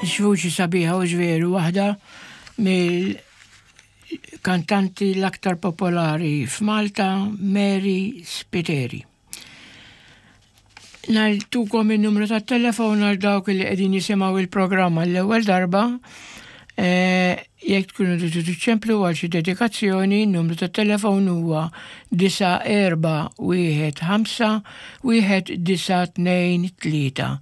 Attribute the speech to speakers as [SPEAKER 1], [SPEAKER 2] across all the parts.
[SPEAKER 1] X'vuċi sabiħa u veru waħda mill-kantanti l-aktar popolari f'Malta, Mary Spiteri. Nagħtukom in-numru tat-telefon għal dawk li qegħdin jisimgħu il-programm għall-ewwel darba. Eh, jekk tkunu tridu tiċċemplu għal xi dedikazzjoni, n-numru tat-telefon huwa 9415 1923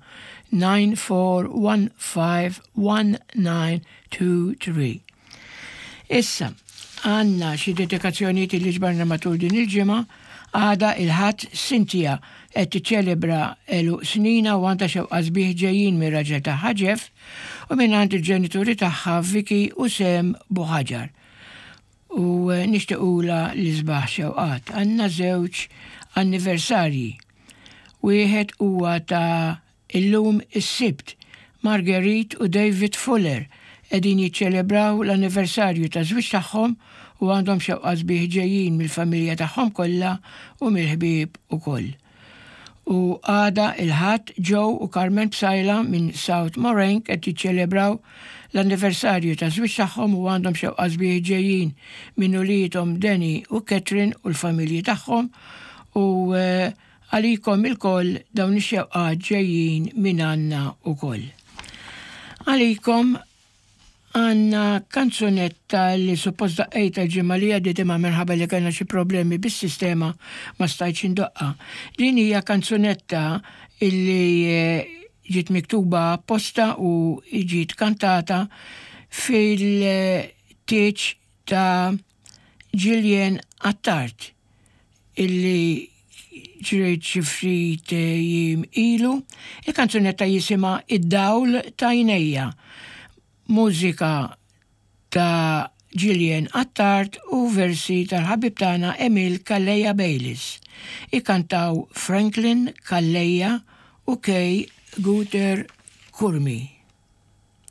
[SPEAKER 1] 94151923. Issa, għandna xi dedikazzjonijiet li ġbarna matul din il-ġimgħa, għada il-Ħadd Cynthia qed tiċċelebra għeluq snina u għandha xewqa sbieħ ġejjin mir-raġel tagħha Jeff u mingħand il-ġenituri tagħha Vicky u Sam Buħaġar. U nixtiequlha l-isbaħ xewqat. Għandna żewġ anniversarji. Wieħed huwa ta' illum is-Sibt. Marguerite u David Fuller qegħdin jiċċelebraw l-anniversarju taż-żwieġ tagħhom u għandhom xewqa sbieħ ġejjin mill-familja tagħhom kollha u mill-ħbieb ukoll. U għada il-Ħadd Joe u Carmen Psaila minn South Moraine qed jiċċelebraw l-anniversarju taż-żwieġ tagħhom u għandhom xewqa sbieħ ġejjin minn uliedhom Danny u Catherine u l-familji tagħhom u għalikom ilkoll dawn ix-xewqat ġejjin minn għandna ukoll. Għalikom għandna kanzunetta li suppost daqqejtha l-ġimgħa li għaddiet imma minħabba li kellna xi problemi bis-sistema ma stajtx indoqqha. Din hija kanzunetta illi ġiet miktuba apposta u ġiet kantata fil-tieġ ta' Gillian Attard illi ġriet xi ftit jiem ilu. Il-kanzunetta jisimha Id-Dawl t'Għajnejja. Mużika ta' Gillian Attard u versi tal-ħabib tagħna Emil Calleja Bayliss. Ikantaw Franklin Calleja u Kay Guter Curmi.